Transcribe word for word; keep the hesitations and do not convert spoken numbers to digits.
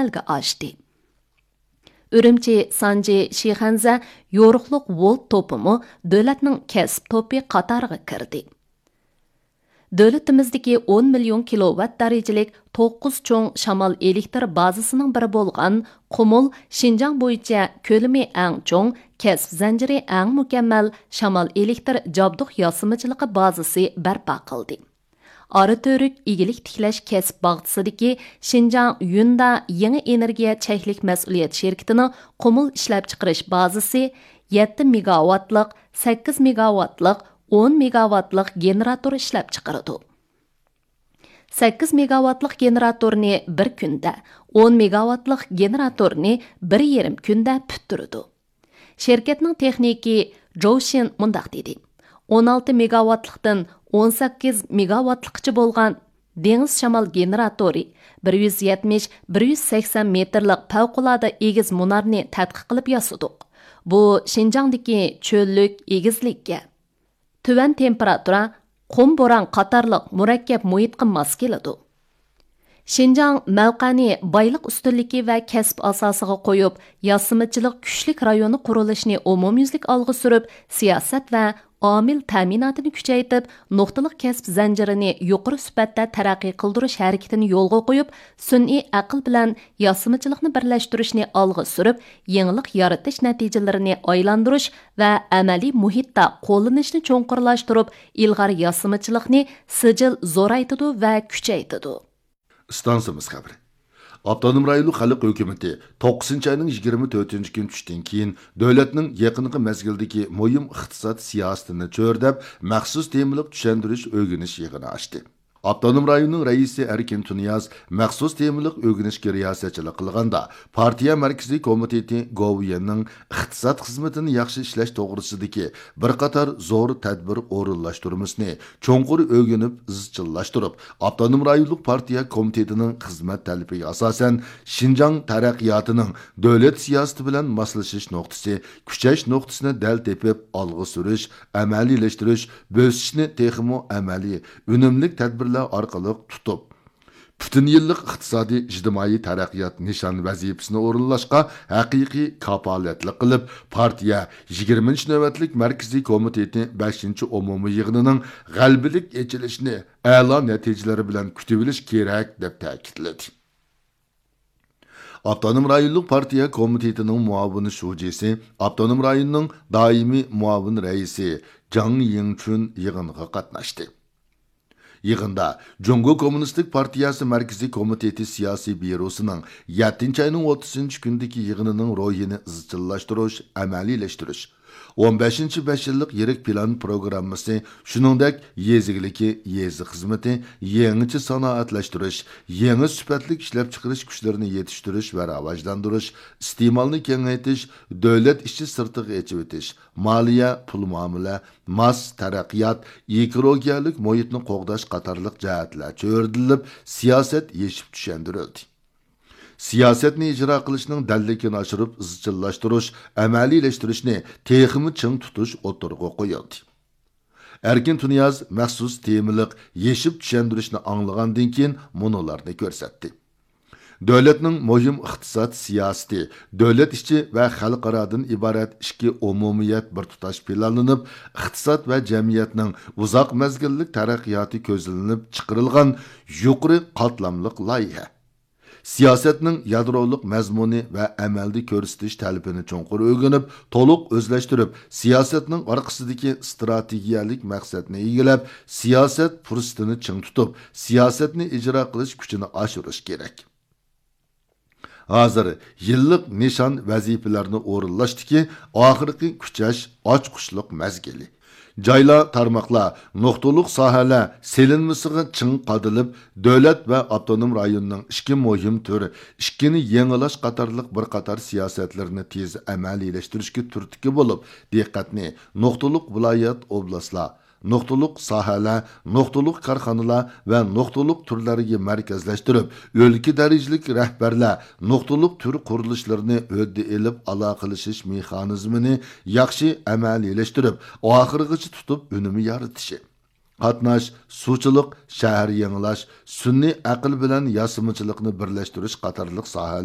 ئەمەلگە ئاشتى. ئۈرۈمچى، سانجى، شىخەنزە يورۇقلۇق ۋولت توپىمۇ دۆلەتنىڭ كەسىپ توپى قاتارىغا كىردى. دۆلىتىمىزدىكى ئون مىليون كىلوۋات دەرىجىلىك توققۇز چوڭ شامال ئېلېكتر بازىسىنىڭ بىرى بولغان قۇمۇل شىنجاڭ بويىچە كۆلىمى ئەڭ چوڭ، كەسىپ زەنجىرى ئەڭ مۇكەممەل شامال ئېلېكتر جابدۇق ياسىمىچىلىقى بازىسى بەرپا قىلدى. ئارا تۈرلۈك ئىگىلىك تىكلەش كەسىپ باغچىسىدىكى شىنجاڭ يۈندا يېڭى ئېنېرگىيە چەكلىك مەسئۇلىيەت شىركىتىنىڭ قۇمۇل ئىشلەپچىقىرىش بازىسى يەتتە مېگاۋاتلىق، سەككىز مېگاۋاتلىق، ئون مېگاۋاتلىق گېنېراتور ئىشلەپچىقىرىدۇ. سەككىز مېگاۋاتلىق گېنېراتورنى بىر كۈندە، ئون مېگاۋاتلىق گېنېراتورنى بىر يېرىم كۈندە پۈتتۈرىدۇ. شىركەتنىڭ تېخنىكى جوۋ شىن مۇنداق دېدى: «ئون ئالتە مېگاۋاتلىقتىن ئون سەككىز مېگاۋاتلىققىچە بولغان دېڭىز شامال گېنېراتورى بىر يۈز يەتمىش، بىر يۈز سەكسەن مېتىرلىق پەۋقۇلئاددە ئېگىز مۇنارنى تەتقىق قىلىپ ياسىدۇق. بۇ شىنجاڭدىكى چۆللۈك ئېگىزلىككە، تۆۋەن تېمپېراتۇرا، قۇم بوران قاتارلىق مۇرەككەپ مۇھىتقا ماس كېلىدۇ.» شىنجاڭ مەۋقەنى بايلىق ئۈستۈنلۈكى ۋە كەسىپ ئاساسىغا قويۇپ، ياسىمىچىلىق كۈچلۈك رايونى قۇرۇلۇشىنى ئومۇميۈزلۈك ئالغا سۈرۈپ، سىياسەت ۋە ئامىل تەمىناتىنى كۈچەيتىپ، نۇقتىلىق كەسىپ زەنجىرىنى يۇقىرى سۈپەتتە تەرەققىي قىلدۇرۇش ھەرىكىتىنى يولغا قويۇپ، سۈنئىي ئەقىل بىلەن ياسىمىچىلىقنى بىرلەشتۈرۈشنى ئالغا سۈرۈپ، يېڭىلىق يارىتىش نەتىجىلىرىنى ئايلاندۇرۇش ۋە ئەمەلىي مۇھىتتا قوللىنىشنى چوڭقۇرلاشتۇرۇپ، ئىلغار ياسىمىچىلىقنى سىجىل زورايتىدۇ ۋە كۈچەيتىدۇ. ئىستانسىمىز خەۋىرى. ئاپتونوم رايونلۇق خەلق ھۆكۈمىتى توققۇزىنچى ئاينىڭ يىگىرمە تۆتىنچى كۈنى چۈشتىن كېيىن دۆلەتنىڭ يېقىنقى مەزگىلدىكى مۇھىم ئىقتىساد سىياسىتىنى چۆرىدەپ، مەخسۇس تېمىلىق چۈشەندۈرۈش ئۆگىنىش يىغىنى ئاچتى. ئاپتونوم رايوننىڭ رەئىسى ئەركىن تۇنىياز مەخسۇس تېمىلىق ئۆگىنىشكە رىياسەتچىلىك قىلغاندا، پارتىيە مەركىزىي كومىتېتى گوۋۇيۈەننىڭ ئىقتىساد خىزمىتىنى ياخشى ئىشلەش توغرىسىدىكى بىر قاتار زور تەدبىر ئورۇنلاشتۇرمىسىنى چوڭقۇر ئۆگىنىپ ئىزچىللاشتۇرۇپ، ئاپتونوم رايونلۇق پارتىيە كومىتېتىنىڭ خىزمەت تەلىپىگە ئاساسەن، شىنجاڭ تەرەققىياتىنىڭ دۆلەت سىياسىتى بىلەن ماسلىشىش نۇقتىسى، كۈچەش نۇقتىسىنى دەل تېپىپ، ئالغا سۈرۈش، ئەمەلىيلەشتۈرۈش، بۆسۈشنى تېخىمۇ ئەمەلىي، ئۈنۈملۈك تەدبىرلەر ئارقىلىق تۇتۇپ، پۈتۈن يىللىق ئىقتىسادىي، ئىجتىمائىي تەرەققىيات نىشان ۋەزىپىسىنى ئورۇنلاشقا ھەقىقىي كاپالەتلىك قىلىپ، پارتىيە يىگىرمىنچى نۆۋەتلىك مەركىزىي كومىتېتى بەشىنچى ئومۇمىي يىغىنىنىڭ غەلىبىلىك ئېچىلىشىنى ئەلا نەتىجىلىرى بىلەن كۈتۈۋېلىش كېرەك، دەپ تەكىتلىدى. ئاپتونوم رايونلۇق پارتىيە كومىتېتىنىڭ مۇئاۋىن شۇجىسى، ئاپتونوم رايوننىڭ دائىمىي مۇئاۋىن رەئىسى جاڭ يىڭچۈن يىغىنغا قاتناشتى. يىغىندا جۇڭگو كوممۇنىستىك پارتىيەسى مەركىزىي كومىتېتى سىياسىي بيۇروسىنىڭ يەتتىنچى ئاينىڭ ئوتتۇزىنچى كۈنىدىكى يىغىنىنىڭ روھىنى ئىزچىللاشتۇرۇش، ئەمەلىيلەشتۈرۈش، ئون بەشىنچى بەش يىللىق يىرىك پىلان پروگراممىسى، شۇنىڭدەك يېزا ئىگىلىكى، يېزا خىزمىتى، يېڭىچە سانائەتلەشتۈرۈش، يېڭى سۈپەتلىك ئىشلەپچىقىرىش كۈچلىرىنى يېتىشتۈرۈش ۋە راۋاجلاندۇرۇش، ئىستېمالنى كېڭەيتىش، دۆلەت ئىچى سىرتىغا ئېچىۋېتىش، مالىيە، پۇل مۇئامىلە، ماس تەرەققىيات، ئېكولوگىيەلىك مۇھىتنى قوغداش قاتارلىق جەھەتلەر چۆرىدىلىپ، سىياسەت يېشىپ چۈشەندۈرۈلدى. سىياسەتنى ئىجرا قىلىشنىڭ دەللىكىنى ئاشۇرۇپ ئىزچىللاشتۇرۇش، ئەمەلىيلەشتۈرۈشنى تېخىمۇ چىڭ تۇتۇش ئوتتۇرىغا قويۇلدى. ئەركىن تۇنىياز مەخسۇس تېمىلىق يېشىپ چۈشەندۈرۈشنى ئاڭلىغاندىن كېيىن مۇنۇلارنى كۆرسەتتى. دۆلەتنىڭ مۇھىم ئىقتىساد سىياسىتى، دۆلەت ئىچى ۋە خەلقئارادىن ئىبارەت ئىككى ئومۇمىيەت بىر تۇتاش پىلانلىنىپ، ئىقتىساد ۋە جەمئىيەتنىڭ ئۇزاق مەزگىللىك تەرەققىياتى كۆزلىنىپ چىقىرىلغان يۇقىرى قاتلاملىق لايىھە. سىياسەتنىڭ يادرولۇق مەزمۇنى ۋە ئەمەلدە كۆرسىتىش تەلىپىنى چوڭقۇر ئۆگىنىپ، تولۇق ئۆزلەشتۈرۈپ، سىياسەتنىڭ ئارقىسىدىكى ئىستراتېگىيەلىك مەقسەتنى ئىگىلەپ، سىياسەت پۇرسىتىنى چىڭ تۇتۇپ، سىياسەتنى ئىجرا قىلىش كۈچىنى ئاشۇرۇش كېرەك. ھازىر يىللىق نىشان ۋەزىپىلەرنى ئورۇنلاشتىكى ئاخىرقى كۈچەش، ئاچقۇچلۇق مەزگىلى. جايلار، تارماقلار، نۇقتىلىق ساھەلەر سېلىنمىسىغا چىڭ قادىلىپ، دۆلەت ۋە ئاپتونوم رايوننىڭ ئىككى مۇھىم تۈر، ئىككىنى يېڭىلاش قاتارلىق بىر قاتار سىياسەتلىرىنى تېز ئەمەلىيلەشتۈرۈشكە تۈرتكە بولۇپ، دىققەتنى نۇقتىلىق ۋىلايەت، ئوبلاستلار، نۇقتىلىق ساھەلەر، نۇقتىلىق كارخانىلار ۋە نۇقتىلىق تۈرلەرگە مەركەزلەشتۈرۈپ، ئۆلكە دەرىجىلىك رەھبەرلەر نۇقتىلىق تۈر قۇرۇلۇشلىرىنى ھۆددە ئېلىپ، ئالاقىلىشىش مېخانىزمىنى ياخشى ئەمەلىيلەشتۈرۈپ، ئاخىرغىچە تۇتۇپ ئۈنۈم يارىتىشى. قاتناش، سۇچىلىق، شەھەر يېڭىلاش، سۈنئىي ئەقىل بىلەن ياسىمىچىلىقنى بىرلەشتۈرۈش قاتارلىق ساھەلەر